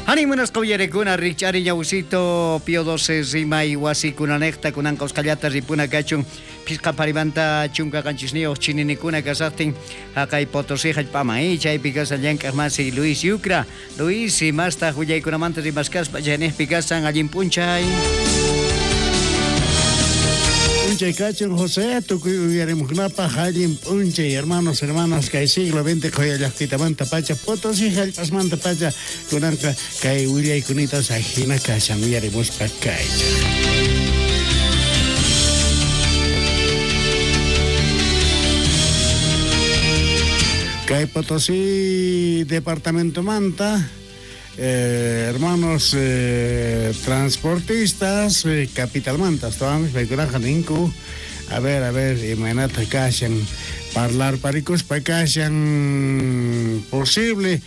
Anin munasqa uyarekuna rikch'ari ñawsito Pío 12 rimay wasikunanejta kunanqa usqhallata ripuna kachun phisqa pharimanta 17 chininikuna kasaqtin haqay Potosí hallp'aman chaypi kasan llank'aq masi Luis Yucra. Luis, imastaq willaykunamanta rimaskaspa chayniqpi kasan allin p'unchay. P'unchay kachun José, tukuy uyarimuqkunapaq allin p'unchay, hermanos, hermanas, kay siglo XX qhoya llaqtitamanta pacha, Potosí hallp'asmanta pacha, kunanqa kay willaykunita ajina kashan uyarimuspa kaychaq. Kay Potosí departamentomanta hermanos transportistas capitalmanta astawanpis paykunaqa ninku a ver imaynata kashan parlarparikuspa kashan posible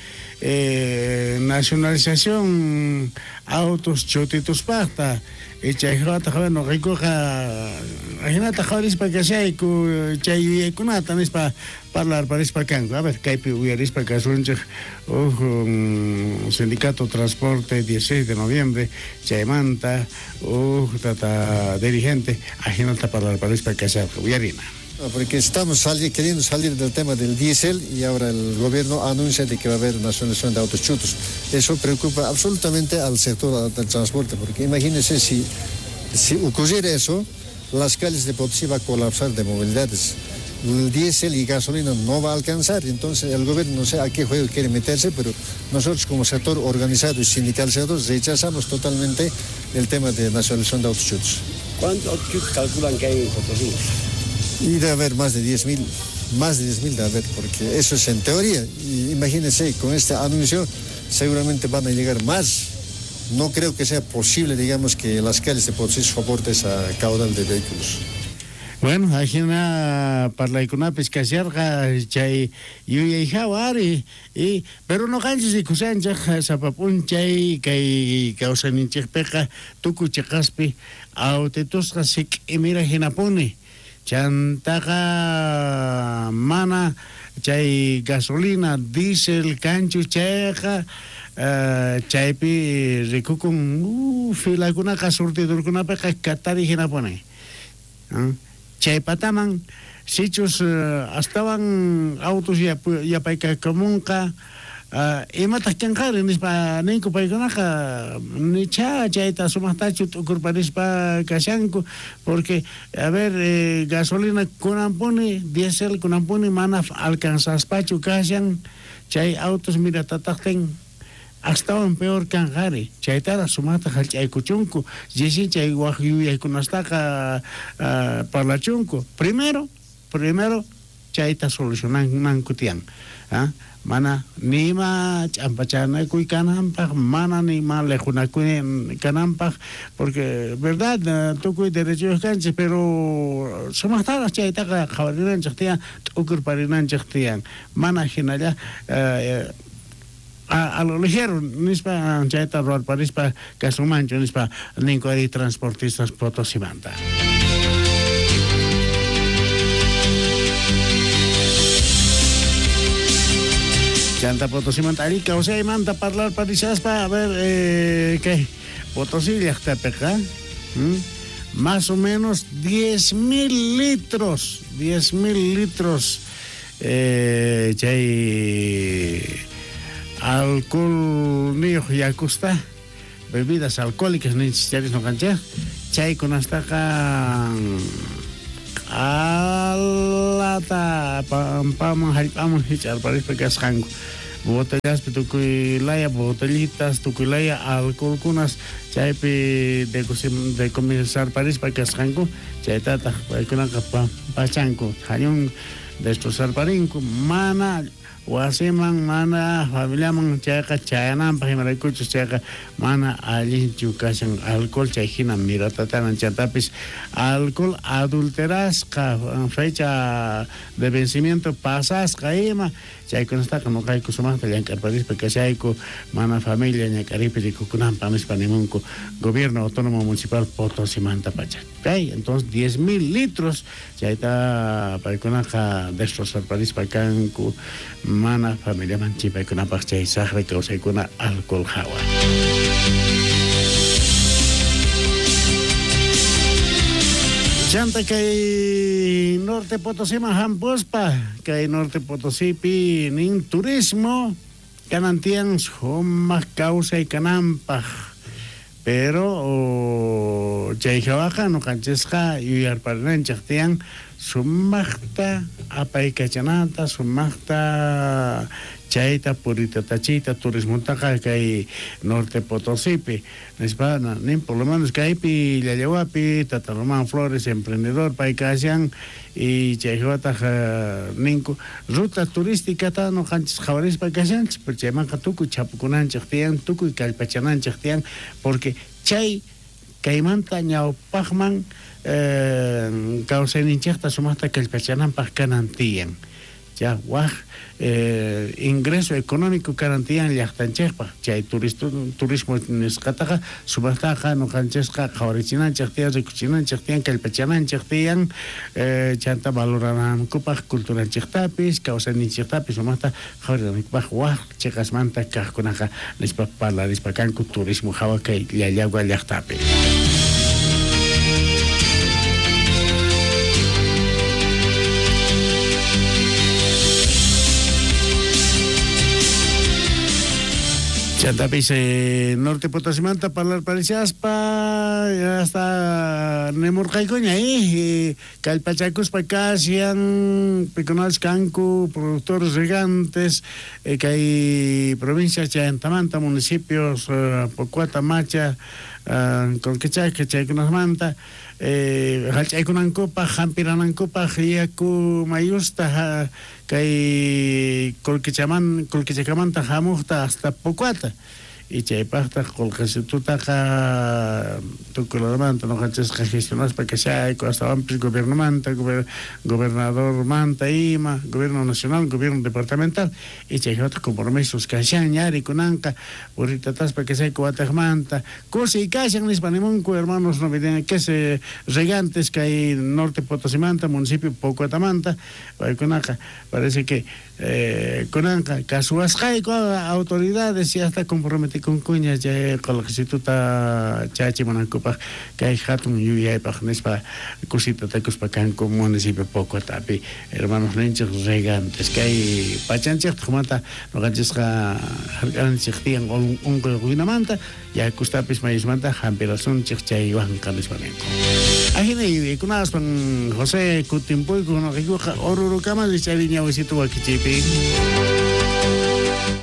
nacionalización autos chutituspaqta chayjawataq bueno noqaykuqa ajinata qhawarispa kashayku chay yuyaykunata nispa parlarparispa kanku. A ver, kaypi uyarispa kasunchej uj sindicato transporte 16 de noviembre chaymanta uj tata dirigente ajinata parlarparispa kasharqa uyarina. Porque estamos queriendo salir del tema del diésel y ahora el gobierno anuncia de que va a haber nacionalización de autos chutos. Eso preocupa absolutamente al sector del transporte, porque imagínense si ocurriera eso, las calles de Potosí va a colapsar de movilidades. El diésel y gasolina no va a alcanzar, entonces el gobierno no sé a qué juego quiere meterse, pero nosotros como sector organizado y sindicalizado rechazamos totalmente el tema de nacionalización de autos chutos. ¿Cuántos autos chutos calculan que hay en Potosí? Y debe haber más de 10.000, más de 10.000 debe haber, porque eso es en teoría. Y imagínense, con este anuncio seguramente van a llegar más. No creo que sea posible, digamos, que las calles de Potosí soporten esa caudal de vehículos. Bueno, ajina parlaykunapis kasharqa chay yuyayjawa ari y pero noqanchis rikusanchej sapa p'unchay kay kawsayninchikpiqa tukuy chiqaspi autitusqa sik'imira hinapuni chantaqa mana chay gasolina diésel kanchu chayqa chaypi rikukun filakunaqa surtidorkunapiqa katari hinapuni. Chay pataman sichus astawan autos yapaykamunqa imataq kanqari nispa ninku paykunaqa nicha chayta sumaqtachu t'ukurparispa kashanku porque a ver gasolina kunanpuni diésel kunanpuni mana alcanzaspachu kashan chay autos miratataqtin astawan peor kanqari chaytara sumaqta hallch'aykuchunku risin chay waj yuyaykunastaqa parlachunku primero chayta solucionanku tiyan mana nima ch'ampachanakuy kananpaq mana nima lejunakuy kananpaq porque verdad tukuy derechuyuq kanchik pero sumaqtaraq chaytaqa qhawarinanchik tiyan t'ukurparinanchik tiyan mana hinalla a lo ligero nispa chayta ruwarparispa kasunmanchu nispa ninku ari transportistas Potosimanta. Chanta Potosimanta ari kawsaymanta parlarparishaspa a ver kay Potosí llaqtapiqa más o menos 10.000 litros 10.000 litros chay alcohol niyuq yakusta bebidas alcohólicas ninchis charis noqanchik chaykunastaqa q'alata pampaman hallp'aman hich'arparispa kasqanku botellaspi tukuy laya botellitas tukuy laya alcoholkunas chaypi decomisarparispa kasqanku chaytataq paykunaqa pachanku hañun destrozarparinku mana wasiman mana familiaman chayqa chayananpaq imaraykuchus chayqa mana allinchu kashan alcohol chay hina miratatanan chantapis alcohol adulterasqa fecha de vencimiento pasasqa ima chaykunastaqa noqayku sumaqta llank'arparispa kashayku mana familia ñak'aripi rikukunanpaq nispa nimunku gobierno autónomo municipal Potosimanta pacha. Okay, entonces 10.000 litros chayta paykunaqa destrozarparispa kanku Mana familiaman chimpaykunapaj chay sajra kawsaykuna alcohol hawa. Chanta kay Norte Potosíman hampuspa, kay Norte Potosípi nin turismo kanan tiyan sumaq kawsay kananpaj. Pero chay hawaqa ñuqanchisqa yuyarparinanchik tiyan sumaqta apaykachanata, sumaqta chayta puritatachiyta turismotaqa kay Norte Potosípi nispa nin por lo menos kaypi Llallawapi Tata Román Flores emprendedor pay kashan y chay hawataq ninku ruta turísticata ñuqanchis qhawarispa kashanchis, pero chaymanqa tukuy chapukunanchik tiyan, tukuy kallpachananchik tiyan, porque chay kaymanta ñawpaqman kawsayninchikta sumaqta kallpachananpaq kanan tiyan. Ya waj ingreso económico kanan tiyan llaqtanchikpaq, chay turismo nisqataqa sumaqtaqa ñuqanchisqa qhawarichinanchik tiyan, rikuchinanchik tiyan, kallpachananchik tiyan, chanta valoranankupaq culturanchiktapis, kawsayninchiktapis sumaqta qhawarinankupaq waj chiqasmanta kaqkunaqa nispa parlarispa kanku turismo hawa kay Llallagua llaqtapi. Chantapis Norte Potosimanta parlar parishaspa hasta nemurqaykuña kallpachakuspa kashan pikunachus kanku productores regantes kay provincia Chayantamanta municipios Pocuata, Macha, Colquechaca chaykunasmanta hallch'aykunankupaq hampiranankupaq yaku mayusta kay Colquechakamanta hamuqta hasta Pocuata y chaypaqtaq qullqisitutaqa tukuy ñuqanchisqa gestionaspa kashayku astawanpis gobiernomanta, gobernadormanta ima, gobierno nacional, gobierno departamental y chayhawataq compromisos kashan ñari kunanqa puritataspa kashayku wataqmanta kusiy kashan nispa nimunku hermanos no que se regantes kay Norte Potosimanta, municipio Pocuatamanta, paykunaqa parece que kunanqa kasuwasqayku autoridades y hasta comprometikunkuña chay qullqisituta chachimunankupaq kay hatun yuyaypaq nispa kusita takuspa kanku municipio Pocuatapi hermanos ninchik regantes kay pachanchikta humanta ñuqanchisqa hark'anchik tiyan unquykunamanta yakustapis mayusmanta hampirasunchik chaywanqa nispa ninku. Ajina yuyaykunaspan José kutimpuyku ñuqaykuqa Orurukama chay ñawisito wakichiypi.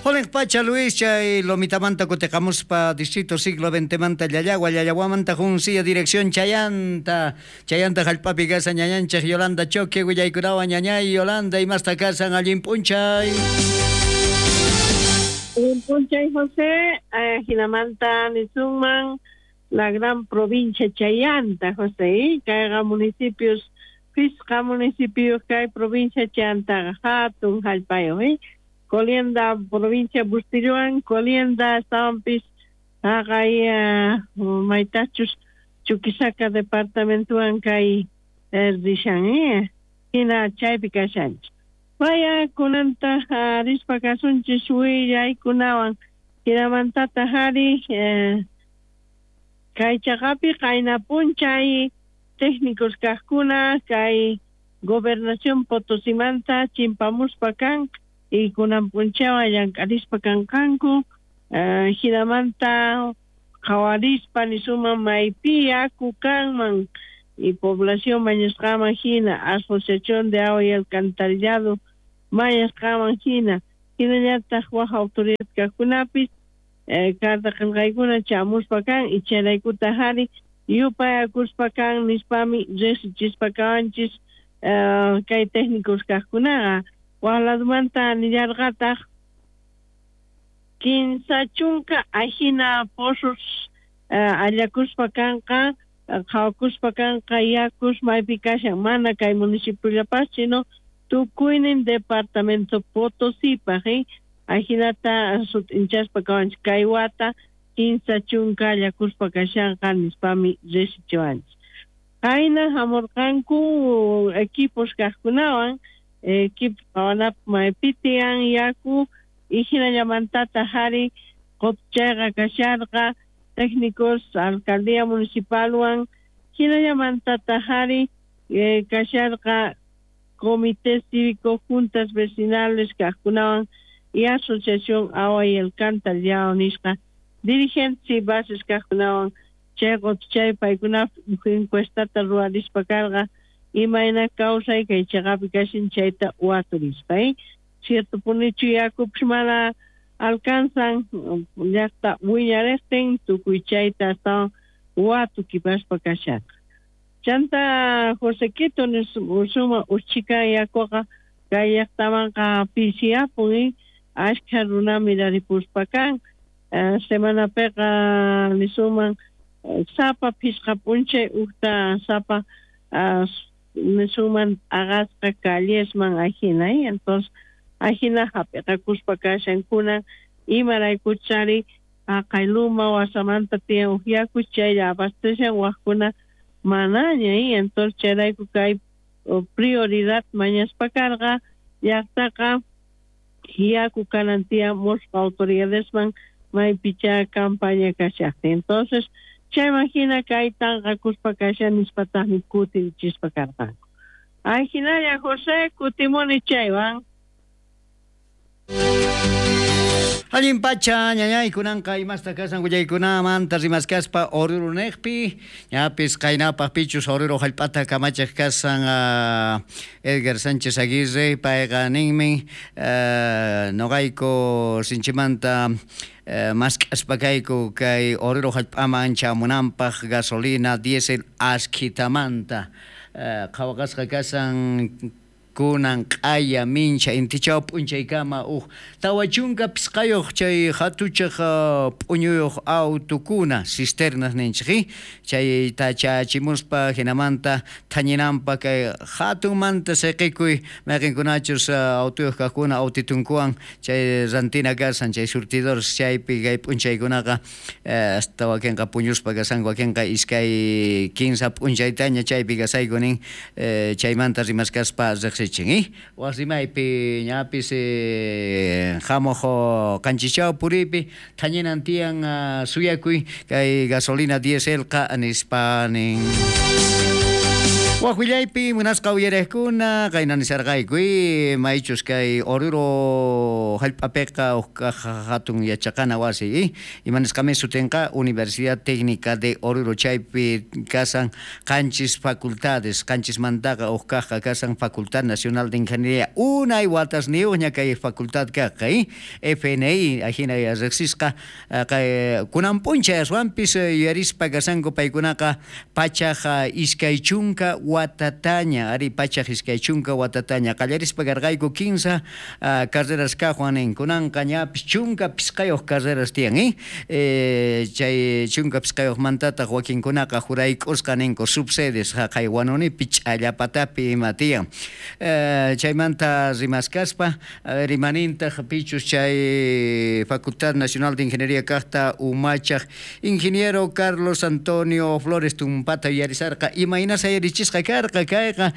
Jolen pacha Luis chay Lomitamanta kutiqamuspa distrito siglo XX manta Llallagua, Llallaguamanta Junsilla dirección Chayanta, Chayanta hallp'api kasan ñañanchik Yolanda Choque willaykunawan ñañay Yolanda imasta kasan allin p'unchay. Allin p'unchay José, jinamanta nisunman la gran provincia Chayanta José, kayqa municipios pisqa municipios kay provincia Chayantaqa hatun hallp'ayuq, Colienda provincia Bustilluan, Colienda estabanpis haqay maytachus Chuquisaca departamentowan kay rishan, hina chaypi kashanchik. Vaya kunanta rispa kasunchis willaykunawan hinamantataq ari kay chaqapi qayna p'unchay técnicos kaqkuna kay gobernación Potosimanta chimpamuspa kan y kunan p'unchaywan llank'arispa kanqanku hinamanta qhawarispa nisuman maypi yaku kanman y población mañasqaman hina asociación de agua y alcantarillado mañasqaman hina hinallataq waj autoridad kaqkunapis carta qillqaykuna chamuspa kan y chayraykutaq ari yupayakuspa kan nispami riqsichispa kawanchis kay técnicos kaqkunaqa. Waj ladumanta nillarqataq 15 ajina pozos allakuspa kanqa qhawakuspa kanqa yakus maypi kashan mana kay municipiollapas sino tukuynin departamento Potosípaq ajinata sut'inchaspa kawanchik kay wata 15 allakuspa kashanqa nispami riqsichiwanchik. Qayna hamurqanku equipos kaqkunawan Equipo qhawanapaq maypi tiyan yaku y hinallamantataq ari qutuchayqa kasharqa técnicos alcaldía municipalwan hinallamantataq ari kasharqa comité cívico juntas vecinales kaqkunawan y asociación Agua y Alcantarillado nisqa dirigentes y bases kaqkunawan chay qutuchay paykuna encuestata ruwarispa karqa imayna kawsay kay chaqapi kashan chayta waturispa cierto punichu yakupis mana alcanzan llaqta wiñariqtin tukuy chayta astawan watukipaspa kasharqa. Chanta Josequito suma uchhikan yakuqa kay llaqtamanqa pisiyapun ashkha runa miraripuspa kan semanapiqa nisuman sapa phisqa p'unchay ukta sapa nisuman t'aqasqa callesman ajina entonces ajina hap'iqakuspa kashan kunan imaraykuchari haqay luma wasamanta tiyan uj yaku chaylla abastecen waqkuna manaña entonces chayrayku kay prioridad mañaspa karqa llaqtaqa yaku kanan tiyan musqa autoridadesman maypicha campaña kashaqtin entonces chayman hina kay tanqakuspa kashan nispataqmi kutirichispa karqanku. Ajinalla José kutimuni chaywan. Allin pacha ñañay kunanqa imasta kasan willaykunamanta rimaskaspa Oruro neqpi ñapis qaynapaq pichus Oruro hallp'ata kamachaq kasan Edgar Sánchez Aguirre payqa ninmi noqayku sinchimanta mask'aspa kayku kay Oruro hallp'aman chamunanpaq gasolina diésel askhitamanta qhawaqasqa kasan kunan q'aya mincha intichaw p'unchaykama uj 45 chay hatuchaq p'uñuyuq autukuna cisternas ninchik chayta chachimuspa hinamanta thañinanpa kay hatunmanta siqikuy mayqinkunachus autuyuq kaqkuna autitunkuwan chay rantina kasan chay surtidores chaypi kay p'unchaykunaqa hasta wakinqa puñuspa kasanku wakinqa 2 15 p'unchaytaña chaypi kasayku nin chaymanta rimaskaspa riqsi Wasimaypi ñapis hamuq qanchichaw puripi thañinan tiyan suyakuy kay gasolina dieselqa nispa nin. Waqwillaypi munasqa uyariqkuna qayna nisarqayku maychus kay Oruro hallp'apiqa huk hatun yachaqana wasi imanisqami sutinqa Universidad Técnica de Oruro chaypi kasan qanchis facultades qanchismantaqa huk kaqqa kasan Facultad Nacional de Ingeniería unay watasniyuqña kay facultad kaqqa FNI ajina riqsisqa kunan p'unchay aswanpis yuyarispa kasanku paykunaqa 120 watataña ari 120 watataña qallarispa karqayku 15 carreras kaqwan nin kunanqa ñapis 15 carreras tiyan chay 15mantataq wakinkunaqa jurayk'usqa ninku subsedes haqay Huanunipi ch'allapatapi ima tiyan chaymanta rimaskaspa rimanintaq pichus chay Facultad Nacional de Ingeniería kaqta umachaq ingeniero Carlos Antonio Flores tumpata yuyarisarqa imayna sayarichisqa karqa kayqa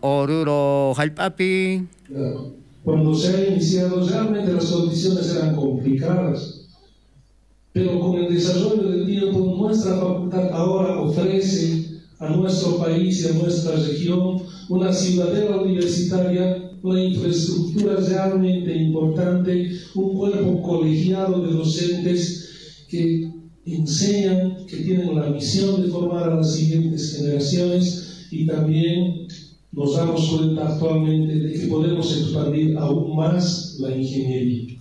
Oruro hallp'api. Cuando se ha iniciado realmente las condiciones eran complicadas, pero con el desarrollo del tiempo nuestra facultad ahora ofrece a nuestro país y a nuestra región una ciudadela universitaria, una infraestructura realmente importante, un cuerpo colegiado de docentes que enseñan, que tienen la misión de formar a las siguientes generaciones y también nos damos cuenta actualmente de que podemos expandir aún más la ingeniería.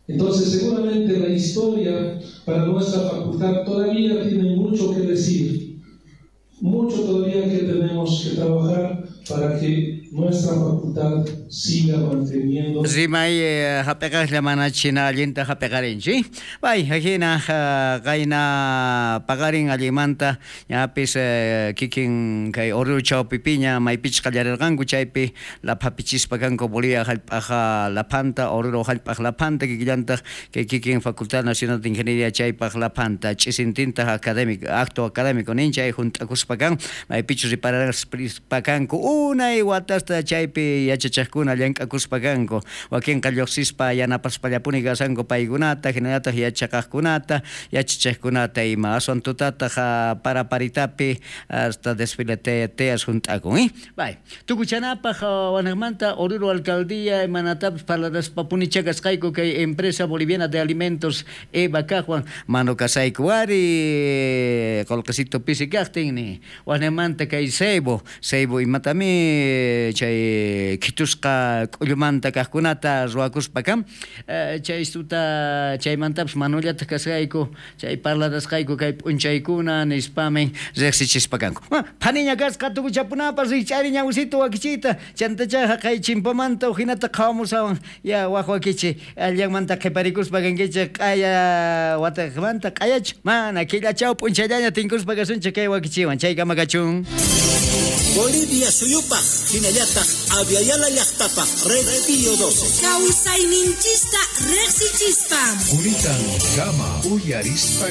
Entonces, seguramente la historia para nuestra facultad todavía tiene mucho que decir, mucho todavía que tenemos que trabajar para que nuestra facultad siga manteniendo. Rimay hap'eqaqlla mana china allinta hap'eqarinchik. Bay hina qayna paqarin allimanta ñapis kikin kay Oruro chawpipiña maypichus qallarirqanku chaypi laphapichispa kanku Bolivia hallp'aqa laphanta Oruro hallp'aq laphanta kikillantaq kay kikin Facultad Nacional de Ingeniería chaypaq laphanta ch'isintintaq académico acto académico nin chay junt'akuspa kan maypichus riparaspa kanku unay watas horasta chaypi yachachaqkuna llank'akuspa kanku, wakinqa lluqsispa yanapaspallapuni kashanku paykunata, hinallataq yachaqaqkunata, yachachaqkunata ima, aswan tutataq paraparitapi hasta desfile tiyas hunt'akun. Bay, tukuchanapaq wanaqmanta Oruro alcaldía imanatapis parlaraspapunichá kasqayku kay empresa boliviana de alimentos Eva kaqwan manu kasayku wari qolqesito pisi kaqtin ni wanaqmanta kay Ceibo, Ceibo imatami chay khitusqa k'ullumanta kaqkunata ruwakuspa kan, chay istuta chaymantapis manullataq kasqayku chay parlarasqayku kay p'unchaykuna nispamin riqsichispa kanku. Phaniña kasqa tukuchapunapas rikch'ari ñawsito wakichiyta chantachá haqay chimpamanta uhinata qhawamusawan ya waq wakichi allanmanta qhiparikuspa kankichik q'aya wataqmanta q'ayachu mana killachaw p'unchayllaña tinkuspa kasunchik kay wakichiwan chaykama kachun. Bolivia suyupaj hinallataq Abya Yala llaqtapaj Red Pío 12. Kawsayninchista riqsichispa. Kunitan kama uyarispa.